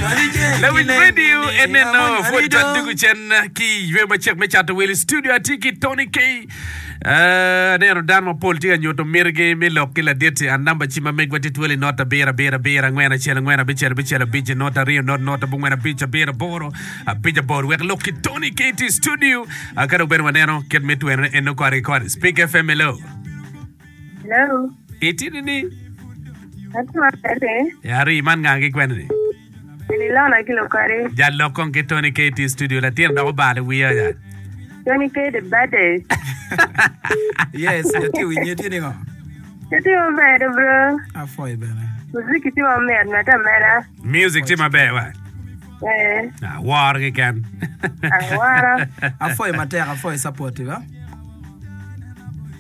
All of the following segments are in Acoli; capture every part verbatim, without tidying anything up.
Lawiny radio eneno pwod twal dugu cen ki ywe macek me cato wil i studio atye ki Tony K. Eh, aneno dano mapol tye ka nyuto mitigi me lok ki ladit-ti. An namba cim ma megwa tye twel i not abiro abiro abiro angwen acel angwen abicel abicel abic not aryo not not abongwen abic abiro aboro abic aboro wek lok ki Tony K tye i studio. Ah, ka dong bene waneno kit me twerone eno kore ki kore. Speak F M hello. Hello. Itye nini? Atye maber pe. Ari man nga ki kwene ni? Eni Lona ki Lokari. Jal lok kong ki Tony K tye i studio latin dok obalo i wiya ya. Tony K the baddest. Yes, atye winye tye ningo? Atye maber do bro. Apwoyo bene. Muziki tye mamit medde ameda. Music tye maber wa. Eh. Aworo keken. Aworo. Apwoyo matek, apwoyo support ba.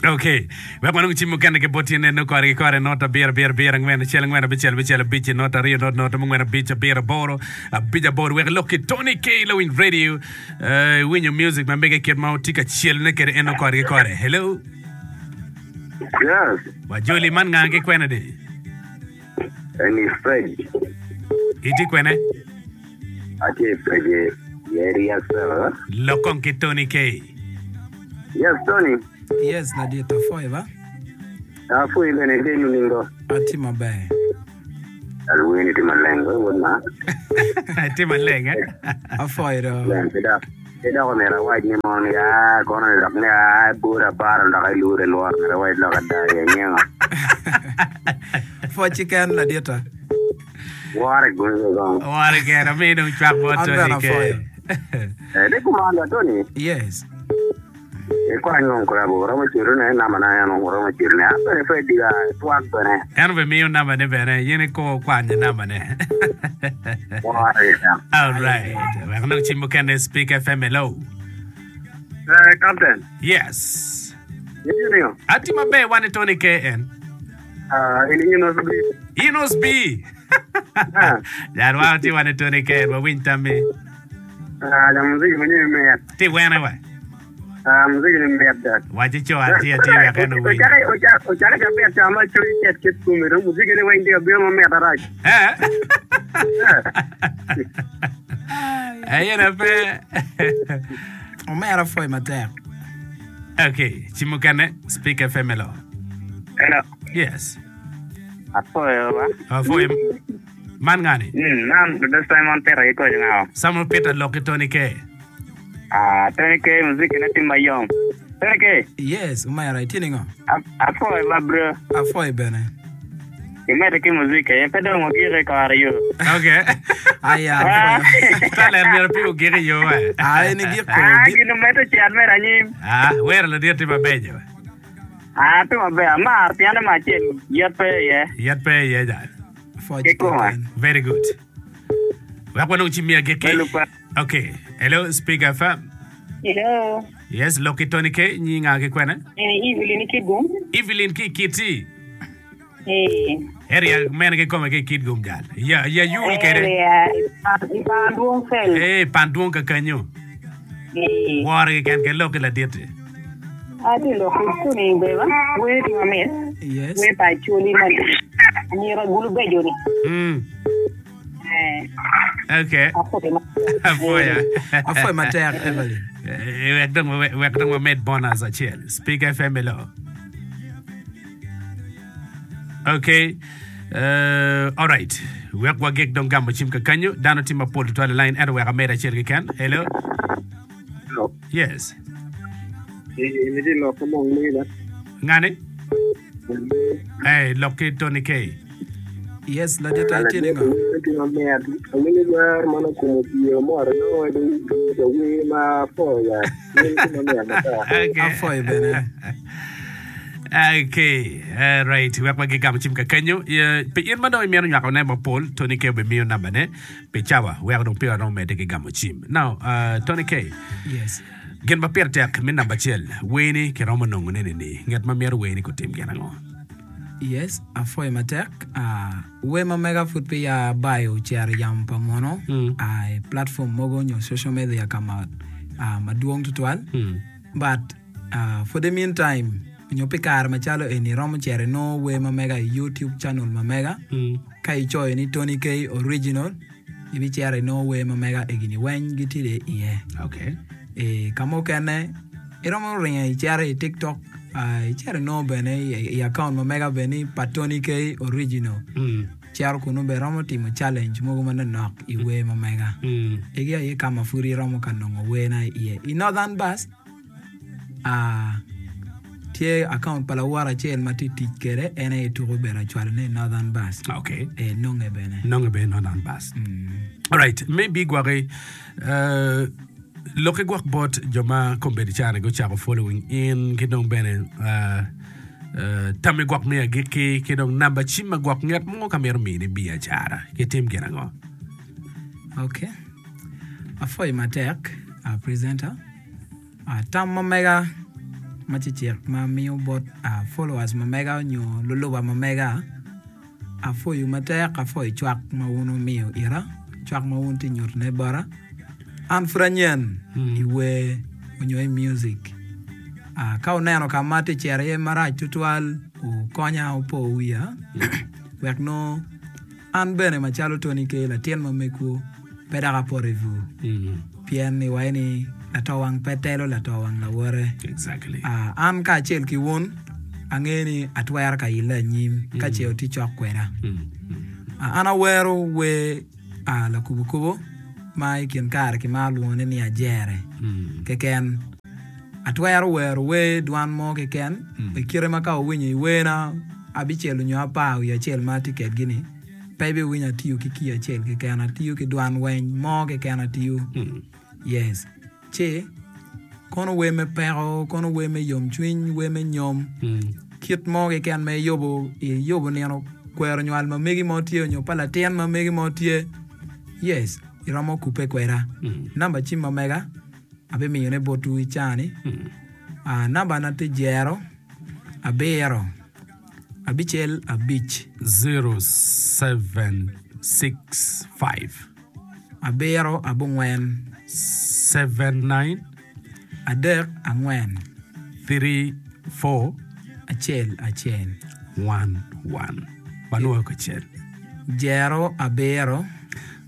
Ok, wek wanong cim mukene ki bot tye neno kore ki kore not abiro abiro abiro angwen acel angwen abicel abicel abic not aryo not not abongwen abic abiro aboro abic aboro wek ilok ki Tony K Lawiny Radio eh, iwinyo music ma mege kit ma otye ka celone kede eno kore ki kore. Hello. Yes, Wajoli man nga ki kwene di? eni Fred. Itye kwene? Atye i Fred i area seven. Lok kong ki Tony K. Yes, Tony. Yes, ladit apwoyo ba. Apwoyi bene itye nining do? Atye maber. Alweni tye maleng we wod ma. Tye maleng eh? Apwoyo do. Leng pe dok. Pe dok omyero awac ni mono ni aa kono ni dok ni aa bor apara dok ilure lworo myero awac lok ada i anyengo. Pwoc keken ladita. Wore gumi be kong. Wore keken amiyo dong cwak bot An Tony bene K. apwoyo. Eh, di kumalo Tony. Yes. Ikwany won kurabo oromo cwero ne namba na en oromo cwero ne. An bene pe diga twak bene. En obimiyo namba ne bene, in iko kwanyo namba ne. Wore keken. All right. Wek anong cim mukene Speak F M hello. Eh, Captain. Yes. Itye ningo? Atye maber wan i Tony K en. Ah, in Enos B. Enos B. Ah. Jal wan tye wan i Tony K en wawiny tammi. Ah, la muziki mwenyewe mit. Ti wene wa. Ah, muziki ni mit da. Waci co atye atye wek en owiny. Ocake ocake ocake cabit ca ma cwiny cet kit kome dong muziki ni weng tye ka bino mamit arac. Eh? Ayena pe. Omera pwoyo matek. Okay, cim mukene Speak F M hello. Hello. Yes. Apwoyo ba. Apwoyo. Man ngani? Mm, man Brother Simon Peter ki koco ngao. Simon Peter lok ki Tony K. Ah, Tony K muziki ne tye mayom. Tony K. Yes, omera itye ningo? Apwoyo ba bro. Apwoyo bene. Imedde ki muziki aye pe dong ogik i kore yo. Okay. Aya, apwoyo. Talent myero pe ogik i yo eh. Ah, en igik ko. Ah, gin omedde cet mere anyim. Ah, wero ladit tye mabeco. Ah, tye maber. Amar piano ma acel yet pe iye. Yet pe iye jal. Pwoc Kikome. keken. Very good. Wek wanong cim miya giki. Belu pa. Okay. Hello, Speak F M. Hello. Yes, lok ki Tony K. Nyinga ki kwene? Eni Evelyn Kitgum. Evelyn ki Kiti. Eh. Area mene ki kome ki Kitgum jal. Ya ya yul kede. Area i Pandwong Fel. Eh, Pandwong kakanyo. Eh. Wore keken ke lok ki ladit-ti. Atye lok ki Tony beba. Wer tye mamit. Yes. Wer pa Acholi ma anyira gulu bejo ni. Mm. Eh. Okay. Apwoyo matek. Apwoyo. Apwoyo matek, Evelyn. Eh, wek dong wek dong wamed bonus acel. Speak F M hello. Okay. Uh, all right. Wek wagik dong gamo cim kakanyo. Dano tye mapol tutwal i line ento wek amed acel keken. Hello. Hello. Yes. Imiti lok ki mong mega. Ngani? Hey, lok ki Tony K. Yes, ladit itye ningo? Tye mamit. Awinyo wer man okumo pii omoro nongo jawer ma apwoyo ya. Wer tye mamit matek. Okay. Apwoyo bene. Okay, uh, right. Wek wagigamo cim kakanyo. Uh, pi in ma dong imito nywako ne mapol, Tony K obimiyo namba ne pi cawa. Wek dong pi waromo medde ki gamo cim. Now, uh, Tony K. Yes. Gin ma pire tek me namba acel, werni kiromo nongo ne ni nget ma mito werni kutim gin ango? Yes, apwoyo matek. Uh, wer ma mega pud pe ya bayo ocero yamo pa muno Mm. uh, i platform mogo nyo social media ka ma uh, madwong tutwal. Mm. But uh, for the meantime nyo pi kare macalo eni romo cero inongo wer ma mega i YouTube channel ma mega Mm. ka icoyo ni Tony K original Ibicito inongo wer ma mega egini weng gitye iye. Okay. E, ka mukene iromo ringo icito i TikTok, uh, icito inongo bene i, i account ma mega bene pa Tony K Original. Mm. Cito kunu bene romo timo challenge mogo manok i wer ma mega. Mm. Egi aye ka ma pud iromo ka nongo werna iye. I Northern Bus, uh, tye account pa lawor acel ma tye tic kwede en aye tuko bedo acwalone i Northern Bus. Okay. E, nonge bene. Nonge bene Northern Bus. Mm. Alright, maybe gwaki uh, loki gwak bot jo ma kombeddi cani gucako following in ki dong bene uh, uh, tammi gwak me agikki ki dong namba cim ma gwak nget mo ka mito mini biacara ki tim gin ango? Okay. Afoyi matek, uh, presenter. Uh, tam ma mega ma cicik ma miyo bot uh, followers ma mega nyo luluba ma mega afoyo matek afoyo cwak ma wun omiyo ira cwak ma wun tye nyutone bota an pud anyen Mm. i wer onyo i music uh, ka oneno ka ma tye cito iye marac tutwal ukonya upo wiya wek nongo an bene macalo Tony K latin ma megwu pe dok apoto i bur Mm. pien ni waci ni latowang pe telo latowang lawote. Exactly. Uh, an kacel ki wun angeyo ni atwero ka ille anyim ka ce otye cok kweda. Mm. Mm. Uh, an awero wer uh, lakubokubo ma i kin kare kimaro lwongone ni ajere Mm. keken. Atwero wero wer dwan mo keken Mm. i kite ma ka owinyo i werna abicel onyo apar wiye acel ma atye kedgi-ni pe ibiwinyo atiyo ki key acel keken atiyo ki dwan weny mo keken atiyo. Mm. Yes. Ci kono wer me peko, kono wer me yomcwiny, wer me nyom, Mm. kit mo keken ma iyubo iyubo nino kwero nywal ma megi mo tye onyo pa latin ma megi mo tye. Yes, iromo kupe kweda. Mm. Namba cim ma mega abimiyone botwu i cani. Mm. Uh, namba na tye jero abiro abicel abic Zero seven six five abiro abongwen seven nine adek angwen three four acel acel one one. Wanwoyo kacel. jero abiro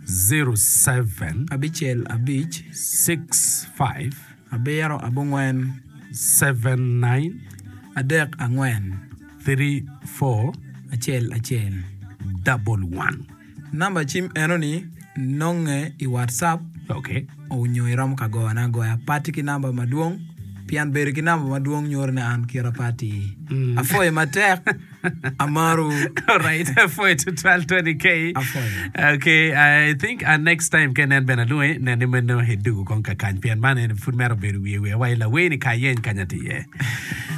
Zero seven abicel abic six five abiro abongwen seven nine adek angwen three four acel acel double one. Namba cim enoni nonge i WhatsApp Okay. onyo iromo ka goyona agoya pati ki namba madwong pien bedo ki namba madwong nyuto ni an kira pati Mm. afoyo matek amaru All right, for to twelve twenty k. Afoyo. Okay, I think uh, next time ken en bena luwe ne ni meno hedugu kon ka kany pien man en pud mero bedo wiye wiye wa ila weni ka yen kanya tiye.